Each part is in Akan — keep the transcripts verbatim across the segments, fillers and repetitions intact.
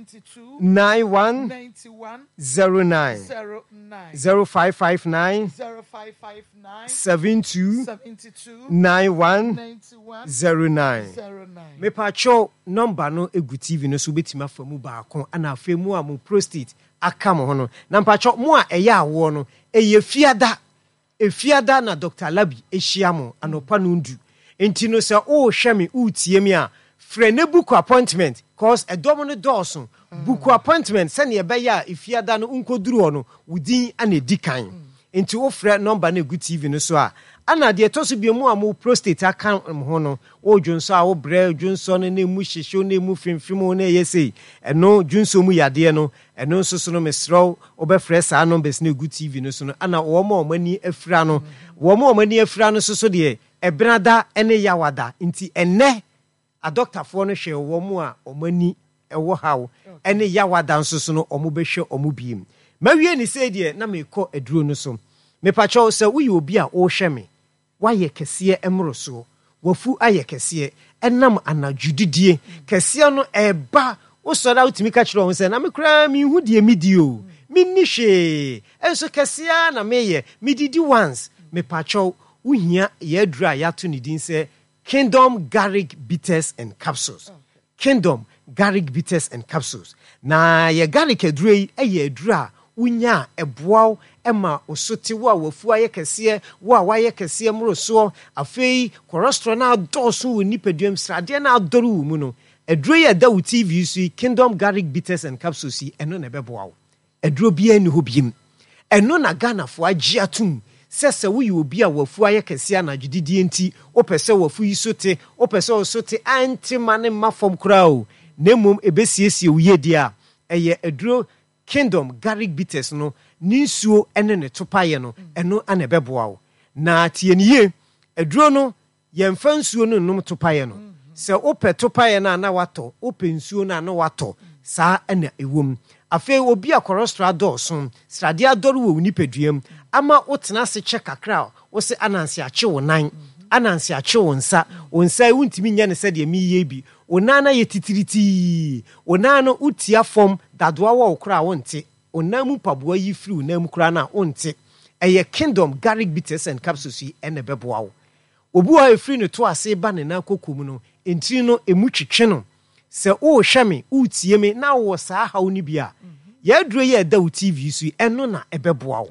two, nine one ninety one, zero nine zero nine, zero five five nine zero five five nine, seven two seventy two, nine one ninety one, zero nine. zero nine. Mepatwɛw, number no egu T V no so, wobɛtumi afa mu baako. Ana afei mu a mo prostate aka mo ho no, na mpatwɛw, mo a ɛyɛ awoɔ no, ɛyɛ Fiada, Efiada na Doctor Labi ahyia mo anɔpa no ndu. Nti no sɛ wohwɛ me, wotie me a, frɛ ne book appointment, 'cause ɛdɔm no dɔɔso. Book appointment sɛnea ɛbɛyɛ a Efiada no nkɔduru hɔ no, wo din ana ɛdi kan. Nti wofrɛ number no egu T V no so a. Ana deɛ ɛtɔ so bio mu a mo prostate aka mo ho no, wo dwonsɔ a wobrɛ, dwonsɔ no na emu hyehyew na emu fimfim wo na ɛyɛ sei, ɛno dwonsɔ mu yadeɛ no, ɛno nso so no, mesrɛ wo, wobɛfrɛ saa numbers no egu T V no so no. Ana wɔn a wɔn ani afira no, wɔn a wɔn ani afira no nso so deɛ, Ɛbenada ne Yawada. Nti ɛnɛ adɔktafoɔ no hwɛ wɔn a wɔn ani ɛwɔ haw, ɛne Yawada nso so no, wɔn bɛhwɛ wɔn biem. Mawie ne sei deɛ, na mekɔ aduro no so. Mepakyɛw, sɛ woyɛ obi a wɔrehwɛ me, woayɛ kɛseɛ mmorosoɔ, wafu ayɛ kɛseɛ ɛnam anadwo kɛseɛ no ɛba, wosɔre a wotumi ka kyerɛ wɔn sɛ, "Na me koraa menhu deɛ medi o, menni hwee, ɛnso kɛseɛ na meyɛ, medidi once." Mepakyɛw, wohia yɛ aduro a yɛato ne din sɛ Kingdom Garlic Bitters and Capsules. Kingdom Garlic Bitters and Capsules. Na yɛ garlic aduro yi yɛ aduro a wonya a ɛboa wo ma wo so te, wo a wafu ayɛ kɛseɛ, wo a wayɛ kɛseɛ mmorosoɔ, afei cholesterol no adɔɔso wɔ nipadua mu, sradeɛ no adɔre wɔ mu no, aduro yi a ɛda wo T V so yi, Kingdom Garlic Bitters and Capsules yi, ɛno na ɛbɛboa wo. Aduro biara nni hɔ biem. Ɛno na Ghanafoɔ agye atom sɛ sɛ woyɛ obi a wafu ayɛ kɛseɛ anadwo didie nti, wopɛ sɛ wafu yi so te, wopɛ sɛ wo so te ante ma ne mma fam koraa o, na mmom ɛbɛsiesie wo yie a, ɛyɛ aduro Kingdom Garlic Bitters no ne nsuo ne ne topaeɛ no, ɛno ana ɛbɛboa wo. Na tie ne yie, aduro no, yɛmfa nsuo no nnom topaeɛ no. Sɛ wopɛ topaeɛ no a na watɔ, wopɛ nsuo no a na watɔ. Saa ɛna ɛwɔ mu. Afei obi a cholesterol adɔɔso, sradeɛ adɔre wɔ wo nipadua mu ama wotena ase kyɛ kakra a, wo sɛ ananse akye wo nan, ananse akye wo nsa, wo nsa yi wontumi nyɛ no sɛdeɛ meyɛ bi, wo nan no ayɛ titiritii, wo nan no wotia fam dadoa wɔ wo koraa a wonte, wo nan mu mpaboa yi firi wo nan mu koraa no a wonte, ɛyɛ Kingdom Garlic Bitters and Capsules yi ɛna ɛbɛboa wo. Obi wɔ hɔ a ɛfiri ne to ase ba ne nan koko mu no, ntiri no emu twetwe no. Sɛ wohwɛ me, wotie me na wowɔ saa haw no bi a, yɛaduro yi a ɛda wo T V so yi, ɛno na ɛbɛboa wo.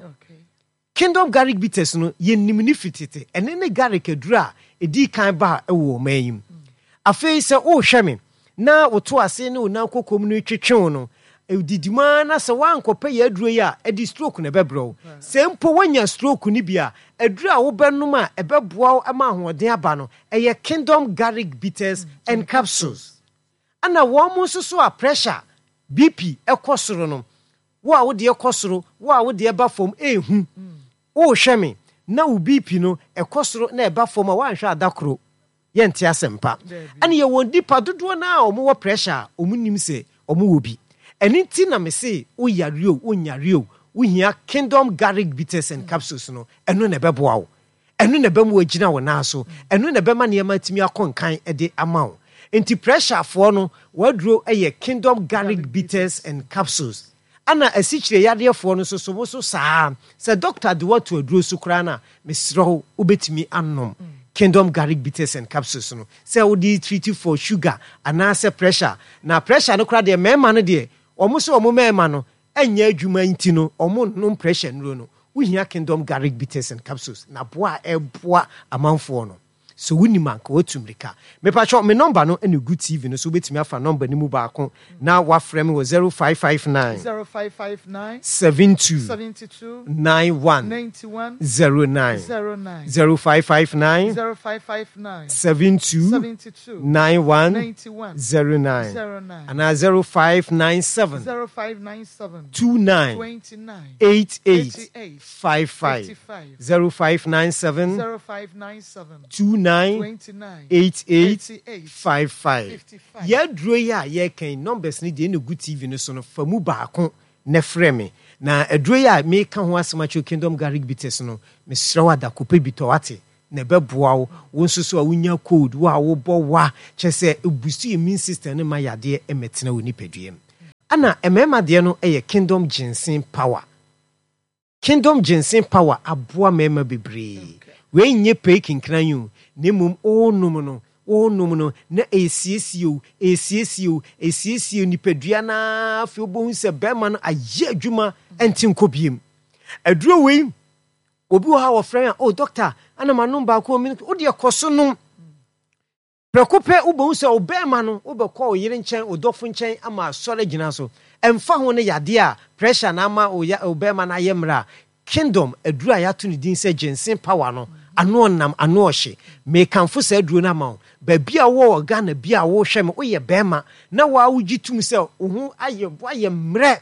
Kingdom Garlic Bitters no, yɛnim ne firi tete. Ɛne ne garlic aduro a ɛdii kan ba a ɛwɔ ɔman yi mu. Afei sɛ wohwɛ me na woto ase ne wo nan koko mu no twetwe wo no, didi mu ara na sɛ woankɔpɛ yɛ aduro yi a, ɛde stroke na ɛbɛbrɛ wo. Sɛ mpo woanya stroke no bi a, aduro a wobɛnom a ɛbɛboa wo ma ahoɔden aba no, ɛyɛ Kingdom Garlic Bitters and Capsules. Ana wɔn mo nso so a pressure, B P ɛkɔ soro no, wo a wodeɛ kɔ soro, wo a wodeɛ ba fam, ehu wohwɛ me na wo B P no ɛkɔ soro na ɛba fam a, woanhwɛ ada koro yɛnte asɛmpa. Ɛne yɛwɔ nipa dodoɔ no a wɔwɔ pressure a wɔn nim sɛ wɔn wɔ bi. Ɛne nti na me se woyare o, wonyare o, wohia Kingdom Garlic Bitters and Capsules no. Ɛno na ɛbɛboa wo, ɛno na ɛbɛma wagyina wo nan so, ɛno na ɛbɛma nneɛma atumi akɔ nkan de ama wo. Nti pressurefoɔ no, waduro yɛ Kingdom Garlic Bitters and Capsules. Ana asikyire yadeɛfoɔ no nso so, mo so saa, sɛ doctor de wato aduro so koraa no a, mesrɛ wo, wobɛtumi anom Kingdom Garlic Bitters and Capsules no sɛ wode treat for sugar anaasɛ pressure. Na pressure no koraa deɛ, mmarima no deɛ, wɔn sɛ wɔn mmarima no ɛnyɛ adwuma nti no, wɔn nom pressure nnuro no, wohia Kingdom Garlic Bitters and Capsules na boa a ɛboa amanfoɔ no. So wonim anka watu mmirika. Mepakyɛw, me number no ɛna gu T V no so. Wobɛtumi afa number no mu baako na wafrɛ me wɔ zero five five nine zero five five nine seven two seventy two nine one ninety one zero nine zero nine zero five five nine zero five five nine seven two seventy two nine one ninety one zero nine zero nine anaa zero five nine seven zero five nine seven two nine twenty nine eight eight eighty eight five five fifty five zero five nine seven zero five nine seven two nine twenty nine eight eight eighty eight five five. fifty five. Yɛaduro yi a yɛreka numbers no deɛ ɛna gu T V no so no, fa mu baako na frɛ me. Na aduro yi a meka ho asɛm akyerɛ, Kingdom Garlic Bitters no, mesrɛ wo, adakopɛ bi tɔ wate na ɛbɛboa wo. Wo nso so a wonya cold, wo a wobɔ wa, kyerɛ sɛ ɛ boost immune system no ma yadeɛ mmɛtena wo nipadua mu. Ana mmarima deɛ no yɛ Kingdom Ginseng Power. Kingdom Ginseng Power aboa mmarima bebree. Wei nyɛ pei kinkran yi o, na mmom wonom no, wonom no na ɛsiesie o, ɛsiesie o, ɛsiesie nipadua no ara. Afei wobɛhu sɛ bɛrima no ayɛ adwuma, ɛnte nkɔ biem. Aduro wei, obi wɔ ha wɔfrɛ a, "Oh doctor, ana manom baako." Wodeɛ kɔ so nom. Prɛko pɛ wobɛhu sɛ wo bɛrima no, wobɛkɔ wo yere nkyɛn, wo dɔfo nkyɛn ama asɔre gyina so. Ɛmfa ho no yadeɛ a pressure na ama wo bɛrima no ayɛ mmerɛ a, Kingdom aduro a yɛato ne din sɛ Ginseng Power no, ano ɔnam, ano ɔhye. Mekamfo saa aduro no ama wo. Baabi a wowɔ wɔ Ghana bi a wohwɛ me, woyɛ bɛrima na waa wogye tom sɛ wo ho ayɛ, woayɛ mmerɛ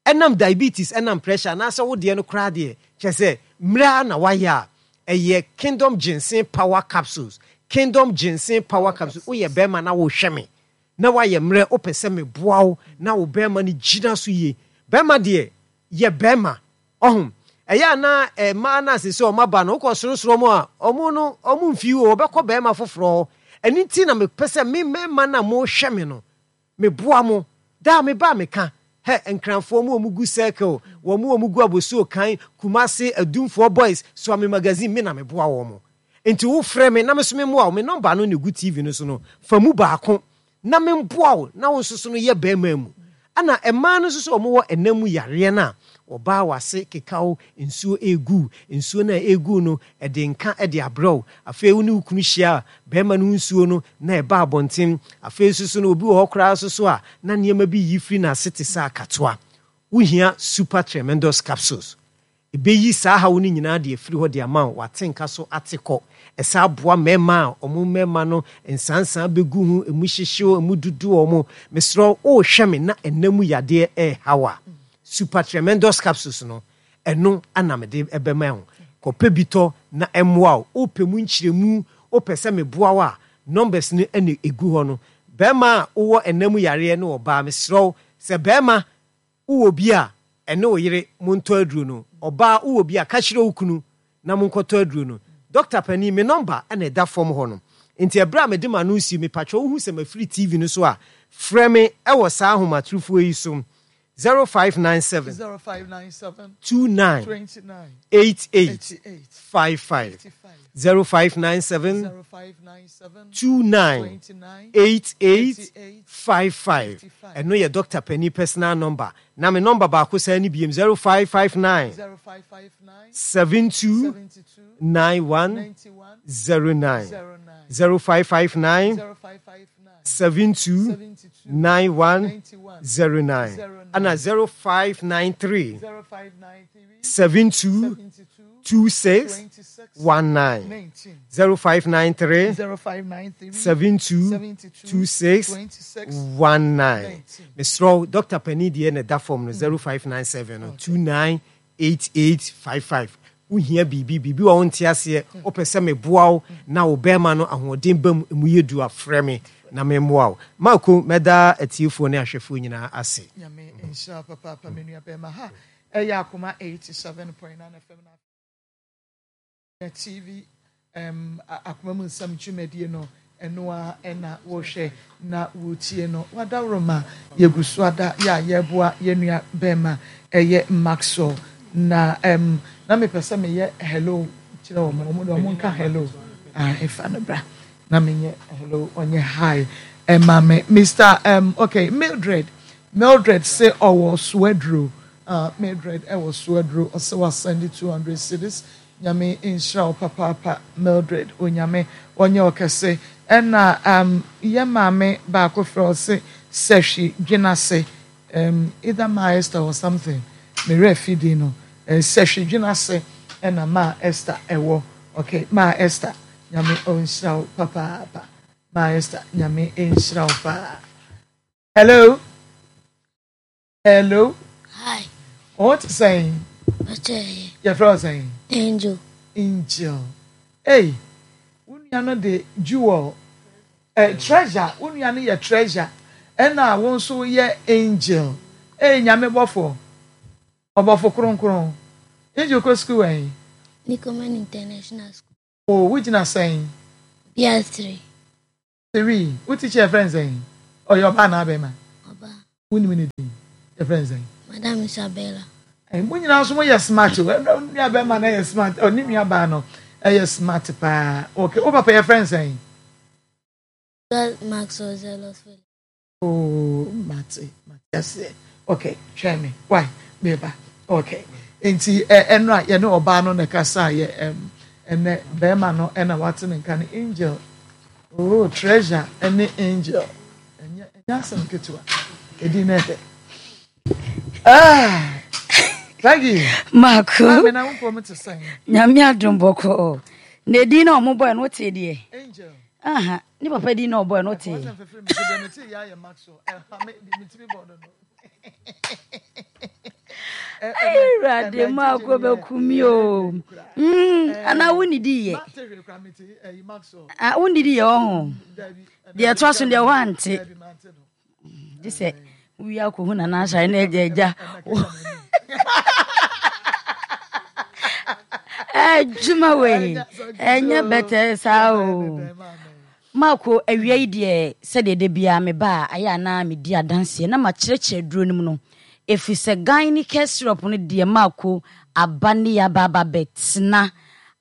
ɛnam diabetes, ɛnam pressure, anaasɛ wo deɛ no koraa deɛ kyerɛ sɛ mmerɛ a na wayɛ a, ɛyɛ Kingdom Ginseng Power Capsules. Kingdom Ginseng Power Capsules. Woyɛ bɛrima na wohwɛ me na woayɛ mmerɛ, wopɛ sɛ meboa wo na wo bɛrima no gyina so yie. Bɛrima deɛ yɛ bɛrima ɔho ɛyɛ ana mmaa no ase sɛ ɔmo aba no, wokɔ sorosoro mu a, ɔmo no ɔmo mfi o, ɔbɛkɔ bɛrima foforɔ hɔ. Ɛno nti na mepɛ sɛ me mmarima no a mohwɛ me no, meboa mo daa. Meba meka hɛ Nkranfoɔ mu, ɔmo gu Circle, wɔn mu ɔmo gu Abosuo kan, Kumase, Adumfoɔ Boys, Suame Magazine, me na meboa wɔn mo. Nti wofrɛ me na me so memmoa wo. Me number no na egu T V no so no, fa mu baako na memboa wo na wo nso so no yɛ bɛrima mu. Ɛna mmaa no nso so, ɔmo wɔ ɛnam mu yareɛ no a, ɔbaa wase kekaw, nsuo egu, nsuo no a egu no ɛde nka ɛde abrɛw. Afei wo ne wo kunu hyia a, bɛrima no nsuo no na ɛba abɔnten. Afei nso so no, obi wɔ hɔ koraa nso so a na nneɛma bi yi firi n'ase te sɛ akatoa. Wohia Super Tremendous Capsules. Ɛbɛyi saa haw no nyinaa de afiri hɔ de ama wo. Wate nka so ate kɔ. Ɛsa aboa mmarima a ɔmo mmarima no nsansan bɛgu ho, emu hyehyew, emu dudu ɔmo. Mesrɛ wo, wohwɛ me na ɛnam mu yadeɛ ɛɛhaw a, Super Tremendous Capsules no, ɛno ana mede ɛbɛma wo. Kɔpɛ bi tɔ na ɛmmoa wo. Wopɛ mu nkyerɛmu, wopɛ sɛ meboa wo a, numbers no ɛna ɛgu hɔ no. Bɛrima a wowɔ ɛnam mu yareɛ ne ɔbaa, mesrɛ wo sɛ bɛrima wowɔ bi a, ɛne wo yere montɔ aduro no. Ɔbaa wowɔ bi a, ka kyerɛ wo kunu na monkɔtɔ aduro no. Dɔkta panin, me number ɛna ɛda fam hɔ no. Nti ɛberɛ a mede ma no si, mepatwɛ wohu sɛ mafiri T V no so a, frɛ me ɛwɔ saa ahomatorofoɔ yi so: zero five nine seven zero five nine seven two nine two nine eight eight eight eight five five. five five. zero five nine seven zero five nine seven two nine two nine eight eight eight eight five five. five five. Ɛno yɛ Dɔkta panin personal number. Na me number baako saa ne biem: zero five five nine zero five five nine seven two seven two nine one nine one zero nine. zero nine. zero five five nine zero five five nine seven two seven two nine one nine one zero nine. zero nine. Ana zero five nine three zero five nine three seven two seven two two six two six one nine. one nine. zero five nine three zero five nine three seven two seven two two six two six one nine. one nine. Mesrɛ wo, Dɔkta panin deɛ na ɛda fam no, zero five nine seven no two nine eight eight five five. Wohia biribi, biribi wɔ wo nte aseɛ, wopɛ sɛ meboa wo na wo bɛrima no ahoɔden ba mu, emu yɛ du a, frɛ me na memmoa wo. Maako, mɛda atiefoɔ ne ahwɛfoɔ nyinaa ase. Nyame nhyira wo papaapa, me nua bɛrima. Ha ɛyɛ Akoma eighty-seven point nine F M na T V um, Akoma Mu Nsɛm dwumadie no, ɛno a ɛna wɔhwɛ na wɔtie no. Wadaworoma, yɛgu so ada yɛ a yɛboa yɛn nua bɛrima ɛyɛ Maxwell. Na um, na mepɛ sɛ meyɛ hello kyerɛ wɔn. Wɔn de wɔn nka hello. Ah, ɛfa no bra na menyɛ hello, ɔnyɛ hi ɛma me. Mister um, okay, Mildred, Mildred sɛ ɔwɔ Suaduro. uh, Mildred ɛwɔ Suaduro, ɔsɛ wasend two hundred cedis. Nyame nhyira wo papaapa, Mildred. Onyame ɔnyɛ ɔkɛse. Ɛna um, yɛ maame baako frɛ, ɔse Sɛhwi Dwenase, um, either Ma Esther or something, mmerɛ fidi no, uh, Sɛhwi Dwenase ɛna Ma Esther ɛwɔ. Okay, Ma Esther, Nyame ɔnhyira wo papaapa. Ma Esther, Nyame nhyira wo paa. Hello, hello. Hi. Wɔn te sɛn? Ɔkyɛ. Yɛfrɛ wo sɛn? Angel. Angel. Hey, wo nua no de Jewel, eh, Treasure. Wo nua no yɛ Treasure, ɛna wo nso yɛ Angel. Hey, Nyame bɔfo, ɔbɔfo kronkron. Angel kɔ sukuu wɛn? Nicoman International School. O, wogyina sɛn? B S three. Three. Wo teacher yɛ friend sɛn? Ɔyɛ ɔbaa anaa bɛrima? Ɔbaa. Wonim ne din? Yɛfrɛ no sɛn? Madam Isabella. Ɛɛ, mo nyinaa nso moyɛ smart o. Ɛnna nua bɛrima no yɛ smart. Ɔne nua baa no ɛyɛ smart paa. Okay, wo papa yɛfrɛ no sɛn? Maxwell Zealous Felix. Oh, mate, mate aseɛ. Okay, twɛn me. Why? Meba. Okay. Nti ɛ ɛno a yɛne ɔbaa no na ɛkasa yɛ ɛm ɛnɛ bɛrima no ɛna wate ne nka no Angel. Oh, Treasure ɛne Angel. Ɛnyɛ ɛnyɛ asɛm ketewa. Edi na ɛdɛ. Ah, thank you. Mako. Maame na wo mpɔ te sɛn? Nyame adom bɔkɔɔ. Na edin na ɔmo bɔɛ no wote deɛ? Angel. Aha, ne papa din na ɔbɔɛ no wote. Ɛfɔ sɛ mfɛfɛ mi deɛ mete yɛ ayɛ Maxwell. Ɛha me metumi bɔ no no. Awurade Mako bɛku mi o. Mm, anaa wonnidi yɛ? Ah, wonnidi yɛ ɔho. Deɛ ɛtoa so deɛ woante. Gye sɛ wowie akɔhu Nana Ahyare na agya agya. Adwuma wei ɛnyɛ bɛtɛɛ saa o. Marko, awia yi deɛ sɛdeɛ da biara meba a ayɛ a na medi adanseɛ na makyerɛkyerɛ aduro no mu no, ɛfiri sɛ Gyne-Care syrup no deɛ Marko aba ne yɛaba aba bɛtena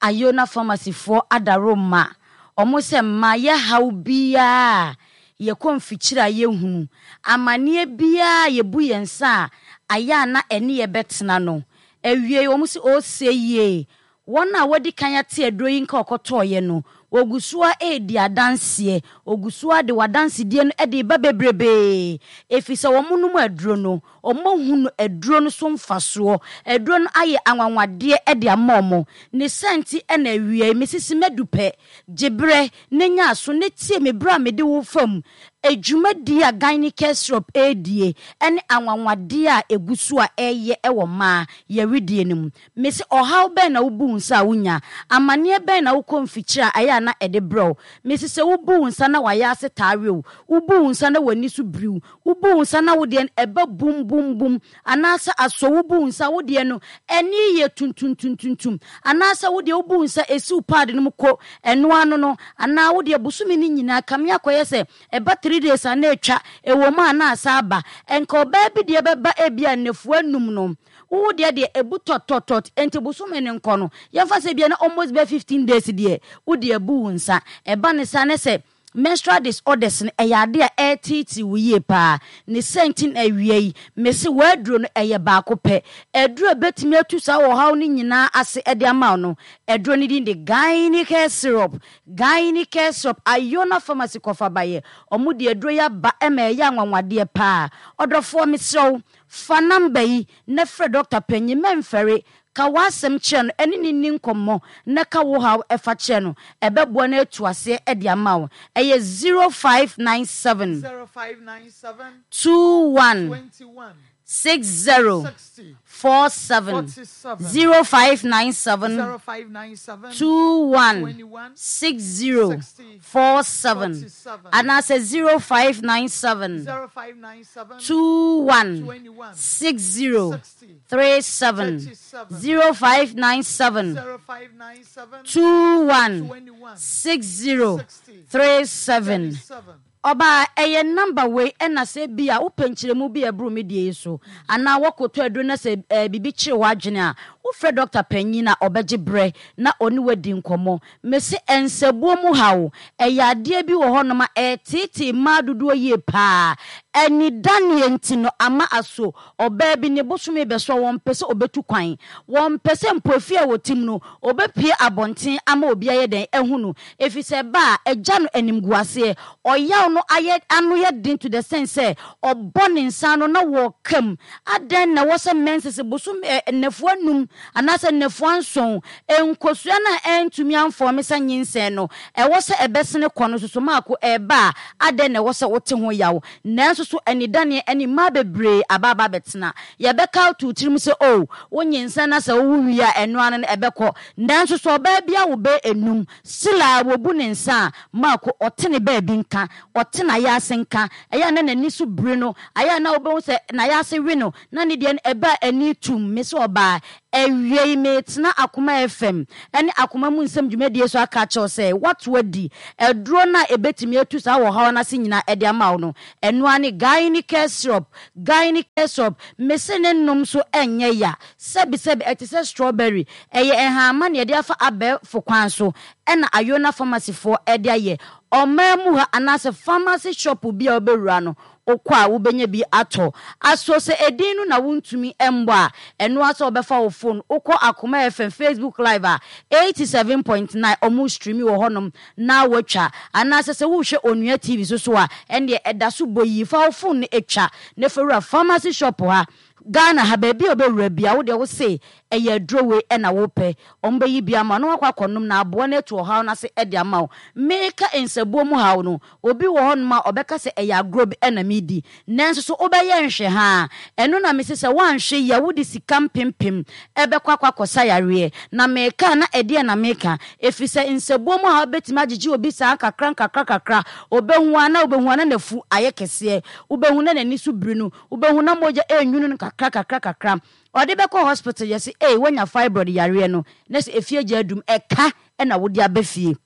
Ayona Pharmacy foɔ adaworoma wɔn sɛ mma yɛ haw biara a yɛkɔ mfikyire a yɛhunu, amaneɛ biara a yɛbu yɛn nsa a ayɛ a na ɛne yɛ bɛtena no. Awiei wɔn se ose yie. Wɔn a wɔadi kan ate aduro yi nka ɔkɔtɔeɛ no, wɔgu so ara redi adanseɛ. Wɔgu so ara de wɔn adansedie no de reba bebrebee, ɛfiri sɛ wɔnom aduro no, wɔahunu aduro no so mfasoɔ. Aduro no ayɛ anwanwadeɛ de ama wɔn. Ne saa nti na awiei, mesisi madu pɛ, gye berɛ na nya aso na tie me berɛ a mede wo fa mu dwumadie a Gyne-Care Syrup redie ne anwanwadeɛ a ɛgu so a ɛreyɛ wɔ mmaa yɛwedeɛ no mu. Mese ɔhaw bɛn na wobu wo nsa a wunya? Amanneɛ bɛn na wokɔ mfikyiri a ɛyɛ a na ɛde brɛ wo? Mese sɛ wobu wo nsa na w'ayaase taa we wo, wobu wo nsa na w'ani so biri wo, wobu wo nsa na wo deɛ no ɛba bum bum bum, anaasɛ asɔ wobu wo nsa a wo deɛ no ani yɛ tuntumtuntuntum, anaasɛ wo deɛ wobu wo nsa ɛsi wo paade no mu ko ɛno ano no, anaa wo deɛ bosome no nyinaa kame akɔyɛ sɛ ɛba three days a na atwa, ɛwɔ mu a na asan aba. Ɛnka ɔbaa bi deɛ bɛba ebia nnafua nnum no, Wo wo deɛ deɛ ɛbu tɔt-tɔt-tɔt enti bosome no nkɔ no, yɛmfa sɛ ebia na almost bɛyɛ fifteen days deɛ wode abu wo nsa. Ɛba no saa na sɛ menstrual disorders no ɛyɛ adeɛ a ɛreteetee wo yie paa. Ne saa nti na awia yi mese w'aduro no ɛyɛ baako pɛ. Aduro a ɛbɛtumi atu saa ɔhaw no nyinaa ase de ama wo no, aduro no din de Gyne-Care Syrup. Gyne-Care Syrup, Iona Pharmacy kɔfa baeɛ. Wɔde aduro yi aba ma ɛyɛ anwanwadeɛ paa. Ɔdɔfoɔ mesrɛ wo, Fa number yi na frɛ dɔkta panyin, mɛnfɛre, ka w'asɛm kyerɛ no, ɛne no nni nkɔmmɔ na ka wo haw fa kyerɛ no. Ɛbɛboa no atu aseɛ de ama wo. Ɛyɛ zero five nine seven Zero five nine seven two one twenty one six zero sixty four seven, forty seven zero five nine seven zero five nine seven two one twenty one six zero sixty four seven forty seven anaasɛ zero five nine seven zero five nine seven two one twenty one six zero sixty three seven thirty seven zero five nine seven zero five nine seven two one twenty one six zero sixty three seven. thirty seven. Ɔbaa, ɛyɛ number wei ɛna sɛ ebia wopɛ nkyerɛmu bi a ɛboro me deɛ yi so anaa woakɔtɔ aduro na sɛ ɛɛ biribi kyere w'adwene a, wofrɛ dɔkta panyin a ɔbɛgye berɛ na ɔne wo adi nkɔmmɔ. Mese nsabuo mu haw, ɛyɛ adeɛ bi wɔ hɔnom a ɛreteetee mmaa dodoɔ yie pa ara. Anidaneɛ nti no ama aso ɔbaa bi ne bosome rebɛso a wɔmpɛ sɛ ɔbɛtu kwan. Wɔmpɛ sɛ mpo efie a wɔte mu no ɔbɛpue abɔnten ama obi ayɛ dɛn ahu no. Ɛfiri sɛ ɛba a ɛgya no animguaseɛ. Ɔyaw no ayɛ ano yɛ den to the sense sɛ ɔbɔ ne nsa ano na wɔka mu. Adɛn na ɛwɔ sɛ menses bosome ɛ nnafua nnum anaasɛ nnafua nson, nkosua no a ɛntumi amfɔɔme sɛ nyinsɛn no, ɛwɔ sɛ ɛbɛsene kɔ no nso so maako ɛreba a, adɛn na ɛwɔ sɛ wote ho yaw? Nanso so anidaneɛ ne mmaa bebree aba aba abɛtena? Yɛbɛka ato wo tirim sɛ oh, wonyinsɛn na sɛ wowo wie a ɛno ara no ɛbɛkɔ. Nanso so ɔbaa bi awo bɛyɛ nnum, still a wɔbu ne nsa a, maako ɔte ne baabi nka, ɔte n'ayaase nka, ɛyɛ a na n'ani so biri no, ayɛ a na wobɛhu sɛ n'ayaase we no, na ne deɛ no ɛba a ani tum. Mese ɔbaa, Awia yi meretena Akoma F M ne Akoma Mu Nsɛm dwumadie so aka akyerɛ wo sɛ woato adi aduro no a ɛbɛtumi atu saa ɔhaw no ase nyinaa de ama wo no. Ɛno ara ne Gyne-Care Syrup. Gyne-Care Syrup, mese ne nom so nyɛ ya. Sɛbisɛbi ɛte sɛ strawberry. Ɛyɛ nhahamma na yɛde afa abɛɛfo kwan so ɛna Ayona Pharmacy foɔ de ayɛ. Ɔman mu ha anaasɛ pharmacy shop bi a wobɛwura no, wokɔ a wobɛnya bi atɔ. Aso sɛ edin no na wontumi mmɔ a, ɛno ara sɛ wobɛfa wo phone, wokɔ Akoma F M Facebook Live a, eighty-seven point nine ɔmo stream wɔ hɔnom na woatwa. Anaasɛ sɛ wohwɛ Onua T V so so a, ɛndeɛ ɛda so bɔ yie. Fa wo phone no atwa na fa wura pharmacy shop ha. Ghana ha baabi a wobɛwura bia, wo deɛ wo se ɛyɛ aduro wei ɛna wopɛ, ɔmo bɛyi bi ama wo na wakɔ akɔnom na aboa no atu ɔhaw no ase ɛde ama wo. Meka nsabuo mu haw no, obi wɔ hɔnom a ɔbɛka sɛ ɛyɛ agorɔ bi ɛna medi, nanso so wobɛyɛ nhwɛ ha ɛno na mese sɛ woanhwɛ yi a, wode sika mpempem ɛbɛkɔ akɔ akɔsa yareɛ. Na meka na ɛdeɛ na meka ɛfiri sɛ nsabuo mu haw bɛtumi agyegye obi saa nkakra nkakra kakra. Obɛhu a na wobɛhu a na n'afu ayɛ kɛseɛ, wobɛhu na n'ani so biri no, wobɛhu na mogya ɛnwunu no kakra kakra kakra. Ɔde bɛkɔ hospital, yɛ sɛ ei, woanya fibroid yareɛ no, na sɛ efie gya adum ɛka ɛna wode aba fie,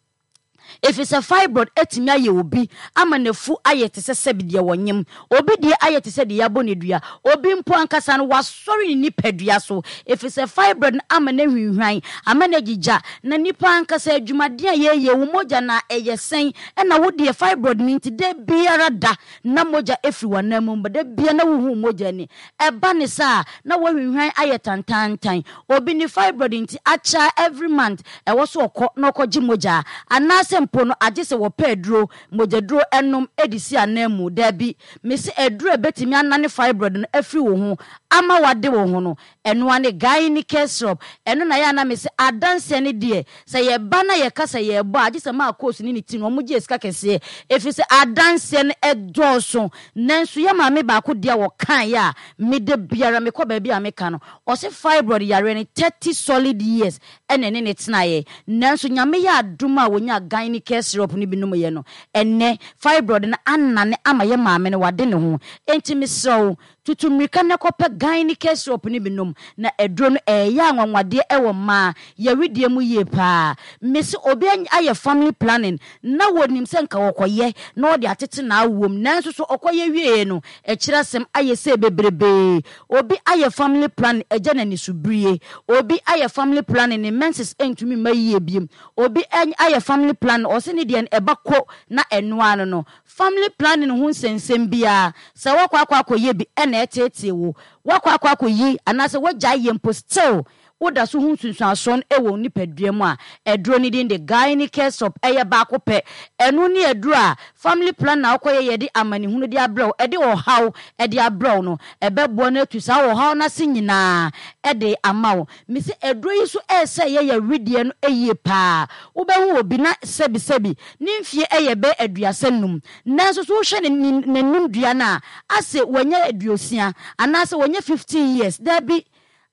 ɛfiri sɛ fibroid atumi ayɛ obi ama n'afu ayɛ te sɛ sɛbi deɛ wɔnyem, obi deɛ ayɛ te sɛ deɛ yɛabɔ ne dua, obi mpo ankasa no wasɔre ne nipadua so, ɛfiri sɛ fibroid no ama no ahwinhwan, ama no agyigya na nipa ankasa adwumaden a yɛyɛ wo mogya na ɛyɛ sɛn ɛna wo deɛ fibroid no nti da biara da na mogya ɛfiri w'anan mu ba, da bia na wohu mogya ni. Ɛba ne saa na woahwinhwan ayɛ tantantan. Obi ne fibroid nti akyɛ every month ɛwɔ so ɔkɔ na ɔkɔgye mogya, anaasɛ mpo no agye sɛ wɔpɛ aduro, mogyaduro ɛnom de si anan mu. Daabi, mesi aduro a ɛbɛtumi anane fibroid no afiri wo ho ama wade wo ho no, ɛnoa ne Gyne Syrup. Ɛno na yɛ ana mesi adanseɛ ne deɛ sɛ yɛba na yɛka sɛ yɛbɔ a, agye sɛ maa course ne ne ti no ɔmo gye sika kɛseɛ, ɛfiri sɛ adanseɛ no ɛdɔɔso. Nanso yɛ maame baako deɛ wɔkaeɛ a mede biara mekɔ baabi a meka no, ɔse fibroid yareɛ no thirty solid years ɛna ɛne ne tenaeɛ, nanso Nyame yɛ adom a wɔnya Gyne Syrup no bi nom yɛ no, ɛnɛ fibroid no anane ama yɛ maame no wade ne ho. Enti mesrɛ wo, tutu mmirika na kɔpɛ Gyne Syrup no bi nom, na aduro no ɛyɛ anwanwadeɛ ɛwɔ mmaa yɛwedeɛ mu yie paa. Mesi obi ayɛ family planning na wɔnim sɛ nka wɔkɔyɛ na ɔde atete n'awom, nanso so ɔkɔyɛ wie no, ɛkyerɛ asɛm ayɛ sɛ bebrebee. Obi ayɛ family planning, agya n'ani so birie. Obi ayɛ family planning, ne menses ntumi mma yie biem. Obi ayɛ family planning, ɔsɛ ne deɛ no ɛba ko na ɛnoa no no Family planning ho nsɛnsɛm biara sɛ wɔkɔ akɔ akɔyɛ bi ɛna ɛteetee wo, wɔkɔ akɔ akɔyi anaasɛ wɔgya yɛ mpo, still woda so ho nsunsuansoɔ no wɔ nipadua mu a, aduro no din de Gyne Syrup. Ɛyɛ baako pɛ. Ɛno ne aduro a family plan na wokɔyɛ yɛde amanehunu de abrɛw, ɛde ɔhaw ɛde abrɛw no, ɛbɛboa no atu saa ɔhaw no ase nyinaa ɛde ama wo. Mesi aduro yi so ɛsɛ yɛyɛ wedeɛ no yie paa. Wobɛhu obi na sɛbisɛbi ne mfie ɛyɛ bɛ aduasa num, nanso so wohwɛ n'anim dua no a, ase wɔnyɛ aduosia anaasɛ wɔnyɛ fifteen years. Daabi,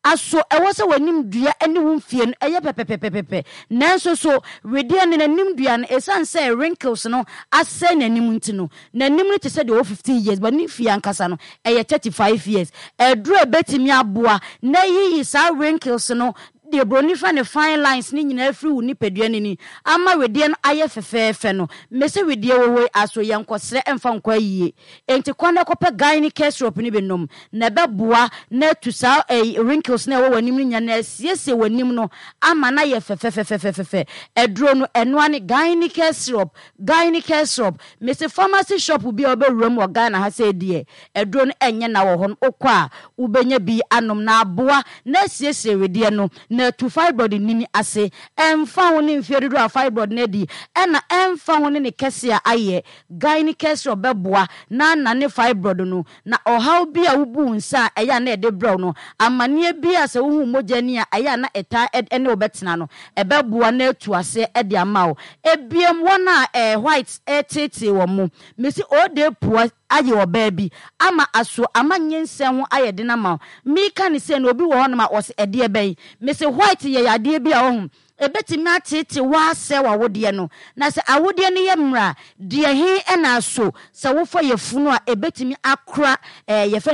aso ɛwɔ sɛ w'anim dua ne wo mfie no ɛyɛ pɛpɛpɛpɛpɛ, nanso so wedeɛ no n'anim dua no, ɛsiane sɛ wrinkles no asɛe n'anim nti no, n'anim no te sɛ deɛ ɔwɔ fifteen years, but ne fie ankasa no ɛyɛ thirty five years. Ɛduro a ɛbɛtumi aboa na yiyi saa wrinkles no deɛ buroni fa ne fine lines ne nyinaa firi wo nipadua no ni ama wedeɛ no ayɛ fɛfɛɛfɛ no. Mese wedeɛ wɔ hɔ yi aso yɛn nkɔsrɛ mfa nkɔ ayie, enti kwan na ɛkɔpɛ Gyne Syrup no bi nom na ɛbɛboa na atu saa ɛyi wrinkles na ɛwɔ w'anim no nyinaa na asiesie w'anim no ama na yɛ fɛfɛfɛfɛfɛ. Ɛduro no, ɛnoa ne Gyne Syrup. Gyne Syrup, mese pharmacy shop bi a wɔbɛwura mu wɔ Ghana ha sɛ deɛ ɛduro no ɛnyɛ na wɔ hɔ no, wokɔ a wobɛnya bi anom na aboa na asiesie wedeɛ no na atu fibroid nini ase. Ɛmfa ho ne mfeɛ dodoɔ a fibroid no adi, ɛna ɛmfa ho ne ne kɛse a ayɛ, Gyne Syrup bɛboa na anane fibroid no na ɔhaw bi a wobu nsa a ɛyɛ a na ɛde brɛw no, amanneɛ bi a sɛ wohu mogya ni a ɛyɛ a na ɛtaa ɛne wobɛtena no, ɛbɛboa na atu aseɛ ɛde ama wo. Ebiem, wɔn a ɛɛ white ɛtetee wɔn mo, mesi ɔde pua ayɛ ɔbaa bi ama aso ama nyinsɛn ho ayɛ den ama wo. Mika ne sɛ na obi wɔ hɔnom a ɔsɛ ɛdeɛ bɛyi. Mesi white yɛ yadeɛ bi a ɔho ebetumi atete waasɛ w'awodeɛ no, na sɛ awodeɛ no yɛ mmerɛ a deɛ he ɛna aso sɛ wofa yɛ funu a ebetumi akora ɛɛ yɛfɛ.